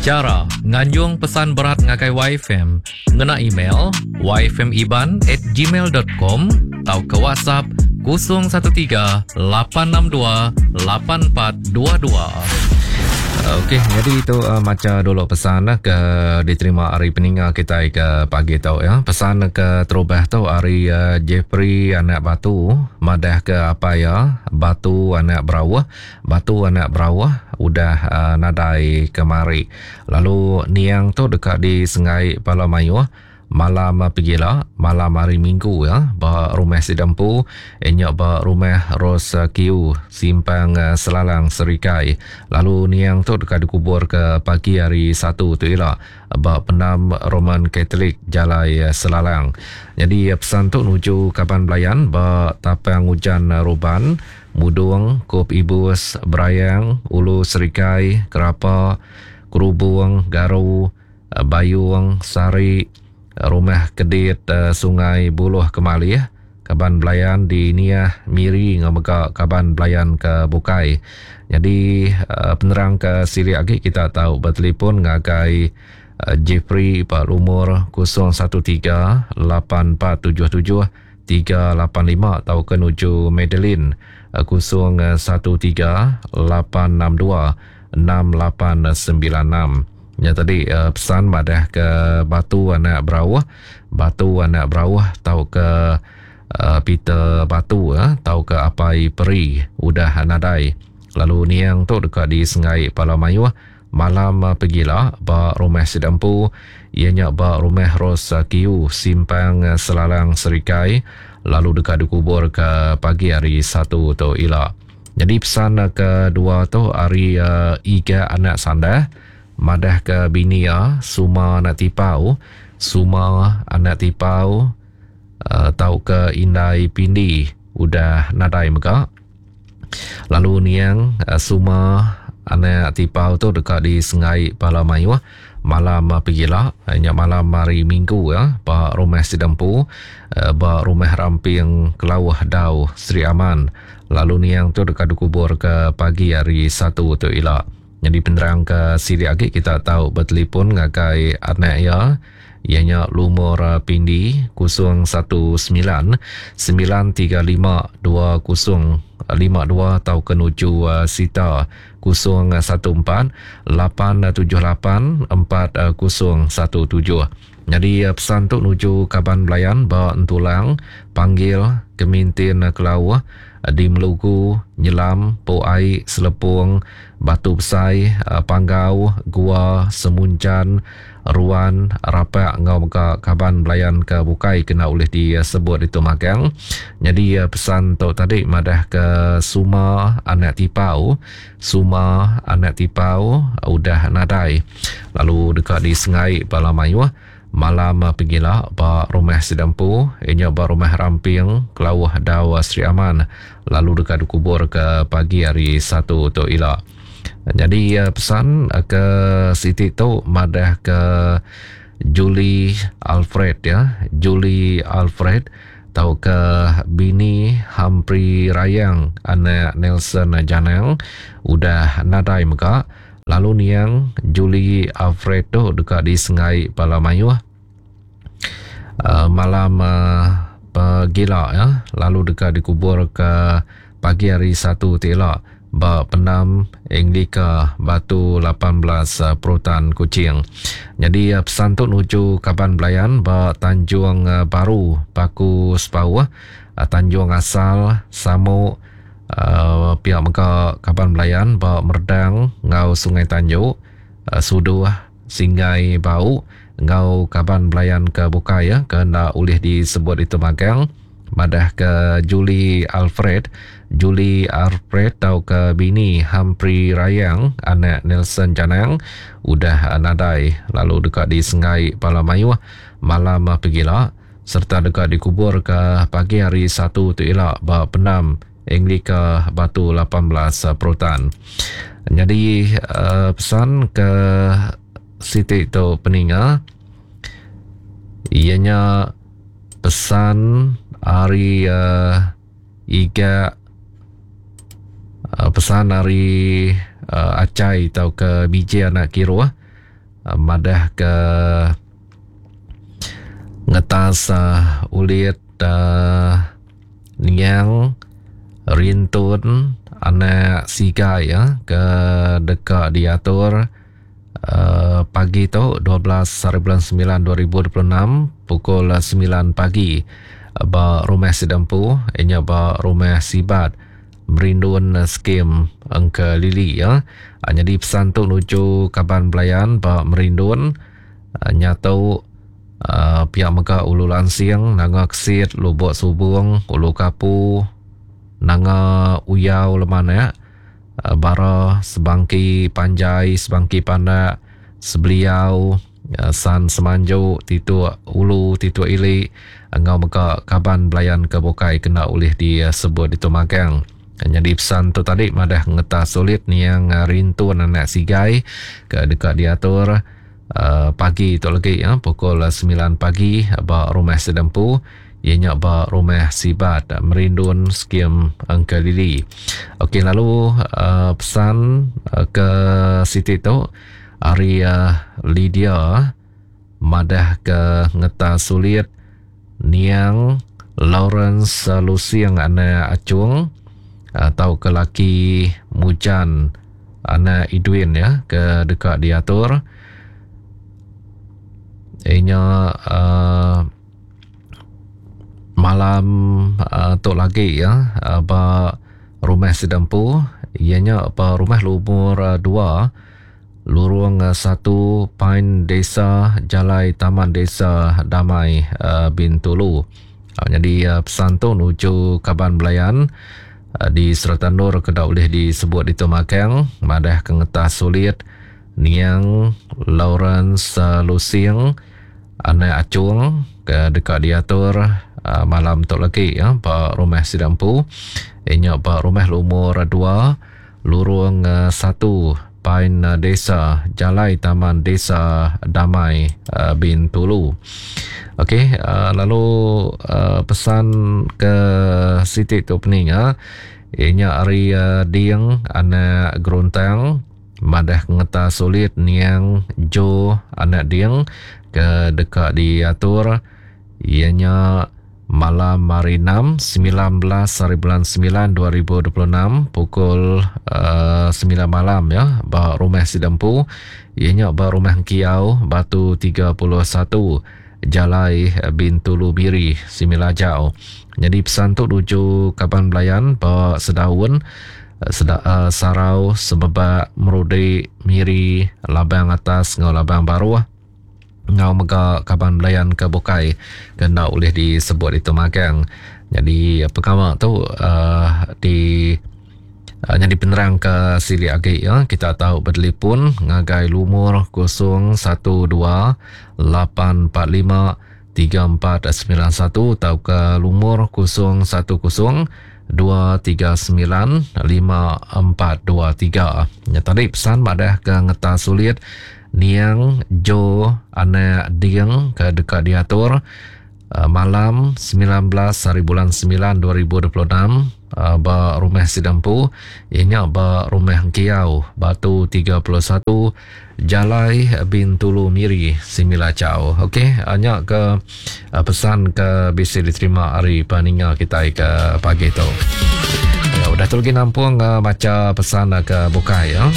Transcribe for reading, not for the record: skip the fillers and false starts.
Chara nganjung pesan berat ngagai YFM ngena email yfmiban at gmail dot com tauka WhatsApp 013 862 8422. Okey, jadi tu uh, macha dulu pesan eh, ke diterima ari peninga kitai ke pagi tu ya. Pesan ke terubah tu ari uh, Jeffrey anak Batu madah ke apai ya Batu anak Berauh Batu anak Berauh udah nadai kemari lalu niang tu deka disenggai bala mayuh malam pegila malam hari minggu ya ba rumah sida empu iya nya ba rumah Rose Kiu Simpang Selalang Serikai lalu niang tu deka dikubur ke pagi hari Satu tu ila ba pendam Roman Catholic Jalai Selalang. Nyadi pesan tu nuju kaban belayan ba Tapang Ujan Ruban Mudung, Kup Ibus, Berayang, Ulu Serikai, Kerapa, Kerubung, Garu, Bayung, Sari, Rumah Kedit, Sungai Buluh Kemalih, kaban belayan di Niah, Miri enggau mega kaban belayan ke bukai. Nyadi penerang ke silik agi kita tau betelefon ngagai Jeffrey ba lumur 013 8477 385 tauka nuju Madeline 013 862 6896. Nya tadi pesan madah ke Batu anak Berauh, Batu anak Berauh tauka Peter Batu tauka Apai Peri udah nadai lalu niang tu deka disenggai pala mayuh Malam pegila ba rumah sida empu iya nya ba Rumah Rose Kiu Simpang Selalang Serikai lalu deka dikuburka pagi hari Satu tu ila. Nyadi pesan kedua tu ari Iga anak Sandah madahka bini iya Suma anak Tipau, Suma anak Tipau tauka Indai Pindi udah nadai mega. Lalu niang Suma anak Tipau tu deka disenggai bala mayuh malam pegila nya malam hari Minggu ya ba rumah sida empu ba rumah Ramping Kelauh Dau Sri Aman. Lalu niang tu deka dikubur ke pagi hari Satu tu ila. Nyadi penerang ke silik agi kita tau betelefon ngagai anak iya iya nya lumur pindi 019 935 2052 tauka nuju Sita 014 878 4017. Nyadi pesan tu nuju kaban belayan ba Entulang, Panggil, Kemintin Kelauh, di Melugu, Nyelam, Po Ai, Selepong, Batu Besai, Panggau, Gua, Semunjan, Ruan, Rapak enggau mega kaban belayan ke bukai kena ulih disebut ditu magang. Nyadi pesan tu tadi madah ke Suma anak Tipau, Suma anak Tipau udah nadai lalu deka disengai bala mayuh malam pegila ba rumah sida empu iya nya ba rumah Ramping Kelauh Dau Sri Aman lalu deka dikubur ke pagi hari Satu tu ila. Nyadi pesan ke siti tu madah ke Julie Alfred ya, Julie Alfred tauka bini Humphrey Rayang anak Nelson Janang udah nadai mega lalu niang Julie Alfred tu deka disengai bala mayuh uh, malam uh, pegila ya lalu deka dikubur ke pagi hari Satu ti ila ba pendam Anglika Batu 18 eh, Perutan Kuching. Nyadi eh, pesan tu nuju kaban belayan ba Tanjung eh, Baru Paku Sepauh, Tanjung Asal, Samuk, pia mega kaban belayan ba Merdang enggau Sungai Tanjok, Suduh, Singai Bau enggau kaban belayan ke bukai ke enda ulih disebut ditu magang. Madahka Julie Alfred, Julie Alfred tauka bini Humphrey Rayang anak Nelson Janang udah nadai lalu deka disenggai bala mayuh malam pegila sereta deka dikuburka pagi hari Satu tu ila ba pendam Anglika Batu 18 Perutan. Nyadi pesan ke siti tu peninga iya nya Pesan ari uh, iga uh, pesan ari uh, Acai tauka BJ anak Kiruh. Madah ke ngetas ulit niang Rintun anak Sigai ke deka diatur pagi tu 12 hari bulan 9 2026 pukul 9 pagi ba rumah sida empu inya ba rumah Sibat Merindun Skim Engke Lili ya. Nyadi pesan tu nuju kaban belayan ba Merindun nyatu pia mega Ulu Lansing, Nanga Kesit, Lubok Subong, Ulu Kapu, Nanga Uyau Lemanak, Bara, Sebangki Panjai, Sebangki Pandak, Sebeliau, San Semanju, Tituk Ulu, Tituk Ili enggau mega kaban belayan ke bukai kena ulih disebut ditu magang. Nyadi pesan tu tadi madah ngetas sulit niang Rintun anak Sigai ke deka diatur pagi tu lagi pukul 9 pagi ba Rumah Sedempu iya nya ba Rumah Sibat Merindun Skim Engkelili. Okey lalu pesan ke siti tu ari Lydia madah ke ngetas sulit niang Lawrence Lusing anak Achung tauka laki Mujan anak Idwin ya ke deka diatur inya uh, malam uh, tu lagi ya uh, ba rumah sida empu iya nya ba rumah lumur 2 Lurung satu Pine Desa Jalai Taman Desa Damai Bintulu. Nyadi pesan tu nuju kaban belayan di serata endur ke enda ulih disebut ditu magang madah ke ngetas sulit niang Lawrence Lusing anak Achung ke deka diatur malam tu lagi ba rumah sida empu iya nya ba rumah lumur dua Lurung satu Pine Desa Jalai Taman Desa Damai Bintulu. Okey lalu pesan ke siti tu peninga iya nya ari Ding anak Geruntang madah ngeta sulit niang Jo anak Ding ke deka diatur iya nya Malam hari Enam, 19 hari bulan 9 2026 pukul uh, 9 malam ya ba rumah sida empu iya nya ba rumah Engkiau Batu 31 Jalai Bintulu Miri Similajau. Nyadi pesan tu nuju kaban belayan ba Sedaun Seda, uh, Sarau Semebak Merudi Miri Labang Atas enggau Labang Baruh enggau mega kaban belayan ke bukai ke enda ulih disebut ditu magang. Nyadi pengawa tu uhh di nyadi penerang ke silik agi ya kita tau betelefon ngagai lumur 012 845 3491 tauka lumur 010 239 5423. Nya tadi pesan madah ke ngetas sulit Niang Joe anak Ding ke deka diatur malam 19 hari bulan 9 2026 ba Rumah Sida Empu iya nya ba Rumah Engkiau Batu 31 Jalai Bintulu Miri Similacau. Okey nya ke pesan ke bisi diterima ari peninga kitai ke pagi tu. Ya, udah tu lagi nampung baca pesan ke bukai ya.